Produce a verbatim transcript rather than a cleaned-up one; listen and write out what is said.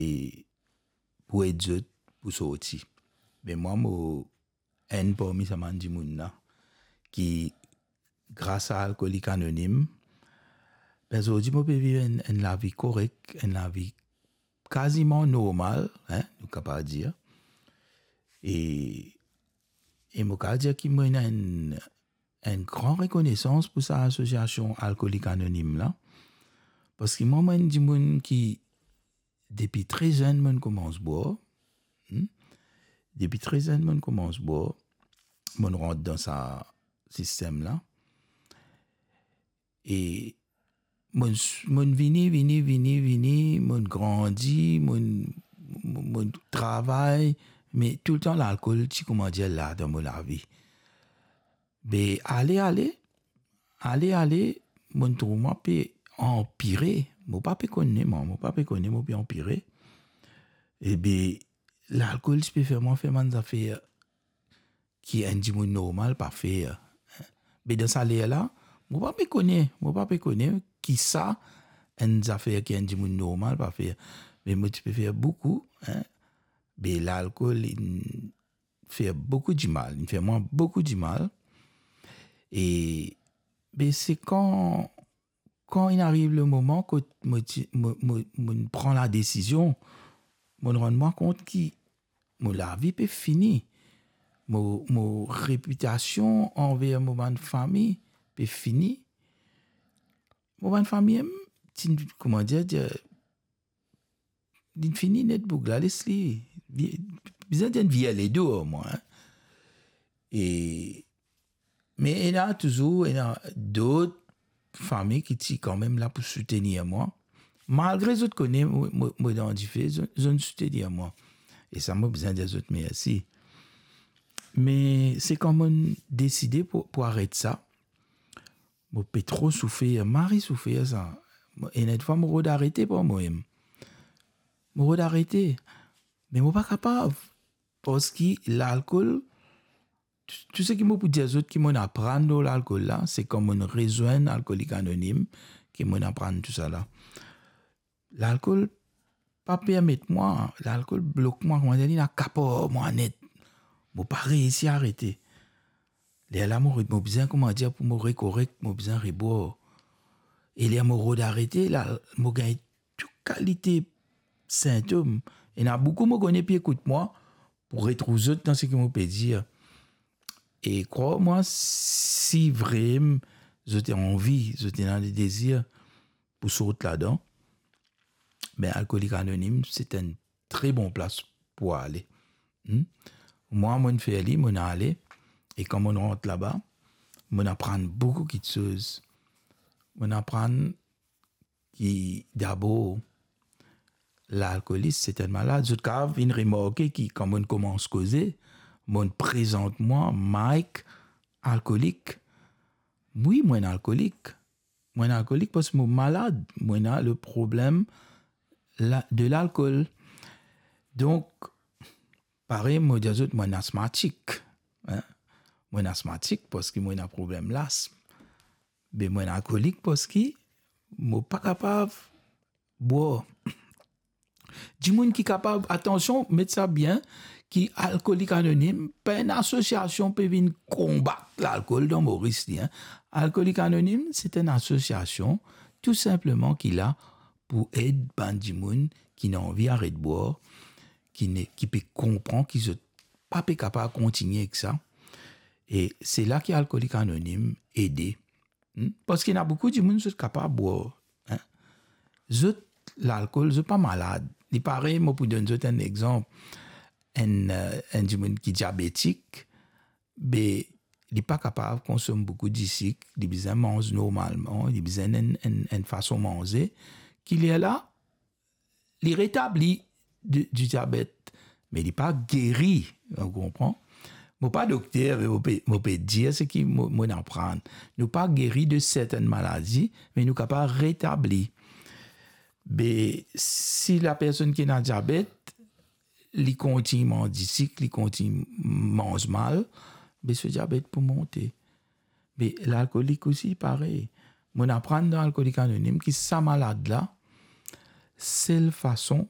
e pou ed zot pou sorti. Me mwa, mo enn parmi sa bann dimoun la ki, gras a Alkolik Anonim, be zordi mo pe viv enn, enn lavi korek, enn lavi kaziman normal, hein, nou kapav dir. E, e mo kapav dir ki mo ena enn, enn gran rekonesans pou sa asosiasion Alkolik Anonim la, parski mwa, mo enn dimoun ki, depi tre zenn, mo'nn koumans bwar. Hmm? Depi tre zenn, mo'nn koumans bwar. Mo'nn rant dan sa sistem la. E mo'nn, mo'nn vini, vini, vini, vini, mo'nn grandi, mo'nn, mo'nn travay, me toultan lalkol ti, kouma dir, la dan mo lavi. Be ale, ale, ale, ale, mo'nn trouv mwa pe anpire. Mo pa pe kone, mwa, mo pa pe kone, mo pe anpire. E be, lalkol ti pe fer mwa fer bann zafer ki enn dimoun normal pa fer. Be dan sa ler la, mo pa pe kone, mo pa pe kone ki sa enn zafer ki enn dimoun normal pa fer. Me mo ti pe fer boukou, hein. Be lalkol, li fer boukou dimal, li fer mwa boukou dimal. E, be se kan, kan inn ariv le moman kot mo ti, mo, mo, mo'nn pran ladesizion, mo'nn rann mwa kont ki mo lavi pe fini, mo, mo repitasion anver mo bann fami pe fini. Mo bann fami, em, ti, kouma dir, dir, li fini net, boug la les li. Vi-, bizin dir, vir ledo ar mwa, hein. E, me ena touzour, ena dot fami ki ti kanmem la pou soutenir mwa. Malgre zot kone mo, mo, mo dan dife, zot, zot soutenir mwa. E sa, mo bizin dir zot mersi. Me se kan mo'nn deside pou, pou aret sa, mo pe tro soufer, mari soufer sa. Mo, ena enn fwa mo rod arete par momem. Mo rod arete. Me mo pa kapav. Parski lalkol, tou, tou seki mo pou dir zot ki mo'nn aprann lor lalkol la, se kan mo'nn rezwenn Alkolik Anonim ki mo'nn aprann tousala. Lalkol pa permet mwa, lalkol blok mwa, kouma dir, li inn akapar mwa net. Mo pa reisi arete. Lerla mo re-, mo bizin, kouma dir, pou mo rekorek, mo bizin rebwar. E ler mo rod arete, la, mo gagn tou kalite sintom. Ena boukou mo kone pe ekout mwa pou retrouv zot dan seki mo pe dir. E krwar mwa, si vremem zot anvi, zot ena le dezir pou sort ladan, be Alkolik Anonim, se enn tre bon plas pou ale. Hmm? Mwa, mo'nn fer li, mo'nn ale, e kan mo'nn rant laba, mo'nn aprann boukou kiksoz. Mo'nn aprann ki dabor, lalkolis, se enn malad. Zot kapav inn remarke ki kan mo'nn koumans koze, mo'nn prezant mwa Mike alkolik. Wi, mo enn alkolik. Mo enn alkolik parski mo malad. Mo ena le problem la, de lalkol. Donk, parey mo dir zot, mo enn asmatik, hein. Mo enn asmatik parski mo ena problem lasm. Be mo enn alkolik parski mo pa kapav bwar. Dimoun ki kapav, atansion, met sa bien, ki Alkolik Anonim pa enn asosiasion pe vinn konbat lalkol dan Moris li, hein. Alkolik Anonim, se enn asosiasion tou sinpleman ki la pou ed bann dimoun ki ena anvi aret bwar, ki ne, ki pe konpran ki zot pa pe kapav kontigne ek sa. E se la ki Alkolik Anonim ede. Hmm? Parski ena boukou dimoun, zot kapav bwar, hein. Zot, lalkol, zot pa malad. Li parey, mo pou donn zot enn exanp. Enn, eh, enn dimoun ki diabetik, be, li pa kapav konsom boukou disik, li bizin manz normalman, li bizin enn, enn, enn fason manze, ki lerla, li retabli di, di diabet, me li pa geri, ou konpran? Mo pa dokter, me mo pe, mo pe dir seki mo, mo'nn aprann. Nou pa geri de sertenn maladi, me nou kapav retabli. Be, si lapersonn ki ena diabet, li kontign manz disik, li kontign manz mal, be so diabet pou monte. Me lalkolik osi parey. Mo'nn aprann dan Alkolik Anonim ki sa malad la, sel fason